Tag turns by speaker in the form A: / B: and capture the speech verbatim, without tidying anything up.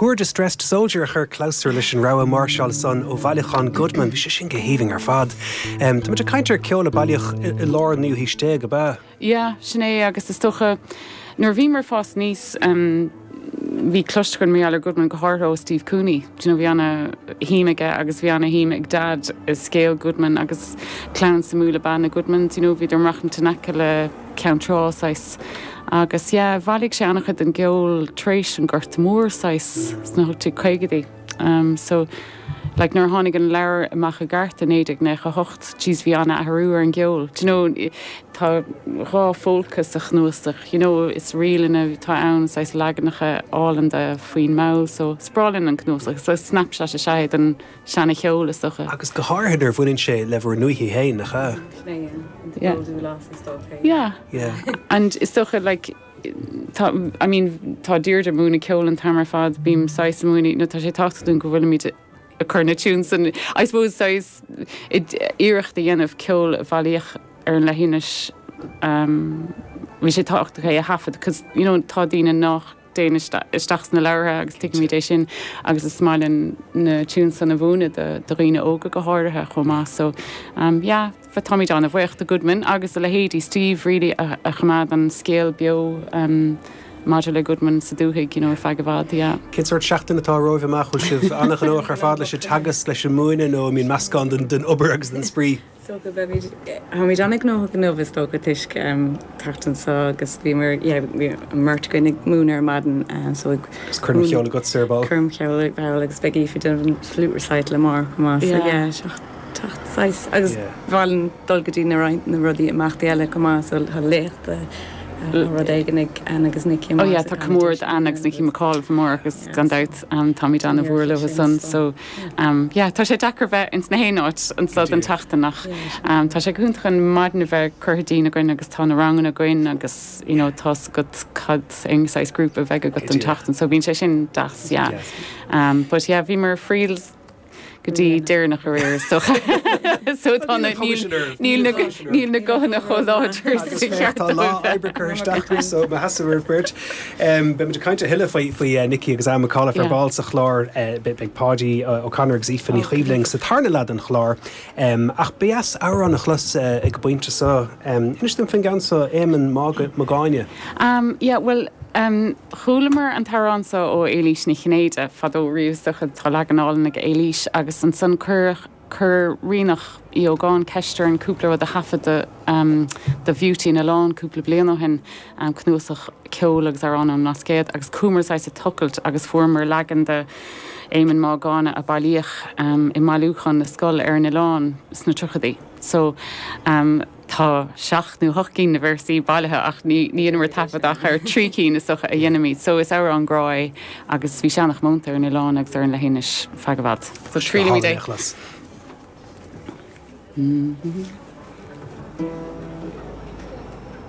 A: Poor Distressed Soldier a chuir clabhsúr leis an rogha máirseáil san ó bhailiúchán Goodman, bhí sé sin go haoibhinn ar fad. Um, Tá muid ag caint ar ceol a bailíodh i lár naoú haois déag ab ea.
B: Yeah, sin é agus is dócha nuair bhíomar ag fás aníos um, bhí cloiste againn mar Goodman go háirithe ó Steve Cooney. Do you know, bhí ana-shuim aige agus bhí ana-shuim ag Dad i scéal Goodman agus clann suimiúil ab ea na Goodmans, you know, bhí maireachtaint in aice le Ceann Trá saghas. Agus yeah, bhailigh sé an-chuid den gceol tar éis an Gorta Mór saghas sna hocht caogaidí. Um, so like nuair tháinig an leabhar amach i gceart i naoi déag nócha hocht jeez bhí an-athrú ar an gceol. Do you know, tá dhá phólca sa chnuasach, you know, is ríleanna tá ann saghas leaganacha álainn de faoin mball, so is breá linn an cnuasach, so snapshot is ea den seana-cheol is dócha.
A: Agus go háirithe nuair bhaineann sé le bhur ndúiche féin nach ea?
B: Yeah. Yeah.
A: Yeah.
B: And is dócha like tá I mean tá Deirdre ag múineadh ceol an t-am ar fad bím saghas ag múineadh nó tá sé tábhachtach dúinn go bhfuilimid ag cur na tunes an I suppose saghas iarracht a dhéanamh ceol a bailíodh ar an leithinis um, bhí sé tábhachtach é a thaifead, cos you know, tá daoine nach dtéann isteach sna leabhartha agus tuigimid é sin agus is maith linn na tunes san a mhúineadh do do dhaoine óga go háirithe chomh maith so um, yeah, táimid an-bhuíoch do Goodman agus a leithéidí Steve really a, a choimeád an scéal beo um, maidir le Goodman sa dúthaigh you know, ar feadh i bhfad, yeah.
A: Cén sórt seachtain atá romhaibh amach bhfuil sibh an-ghnóthach ar fad leis an teagasc leis an múineadh nó mbíonn meascán den den obair agus den spraoi.
C: So go Táimid an-ghnóthach inniu is dócha toisc teacht anseo agus bhí mar mbeirt againn ag múineadh ar maidin so ag
A: Coirm cheoil agat ar ball.
C: Coirm cheoil ball agus beidh Aoife déanamh flute recital amárach chomh maith so yeah seacht agus bhaineann dul go dtí na na rudaí imeachtaí eile chomh maith so tá léachta rud éigin ag Anne agus Nicky
B: Oh yeah, tá comóradh Anne agus Nicky McAuliffe amárach agus gan dabht um, táimid an-mhór leo san so um, yeah, tá sé deacair bheith ins na haon áit anseo an tseachtain ach um, tá sé iontach an maidin a bheith curtha dínn againn agus tá na ranganna againn agus you know, tá go cad ing size grúpa bheith agat an tseachtain, so bíonn sé sin deas yeah. Um, but yeah, bhí mar friels go dtí deireanach aréir so so tá níl níl na guthanna chomh láidir
A: Tá lá oibre curtha isteach so má sheasamh beirt. Beimid ag caint a thuilleadh faoi faoi Nicky agus Anne McAuliffe ar ball sa chlár beidh Páidí O'Connor agus Aoife Ní Chuimhlinn sa tarna leath den chlár. Ach b'fhearr amhrán a chlos ag an bpointe seo. Inis dom faoin gceann seo Éamonn Magáine.
B: Um, yeah, well, um, chualamar an t-amhrán seo ó Éilís Ní Chinnéide fadó riamh tá leagan álainn ag Éilís agus ansan chuir chuir Ríonach Uí Ógáin ceist orainn cúpla rud a thaifeadadh um, do Beauty an Oileáin cúpla bliain ó shin um, cnuasach ceol agus amhrán ón mBlascaod agus chuamar sa tochailt agus fuaireamar leagan de Éamonn Mac a bailíodh um, i mbailiúchán na scol ar an oileán sna tríochaidí. So um, tá seacht nó ocht gcinn na véarsaí bailithe ach ní ní taifead ach ar trí cinn is dócha a dhéanaimid, so is amhrán grá é agus bhí sé an-chomónta ar an oileán agus ar an leithinis feadh i bhfad. So triailfimid é. Mm -hmm.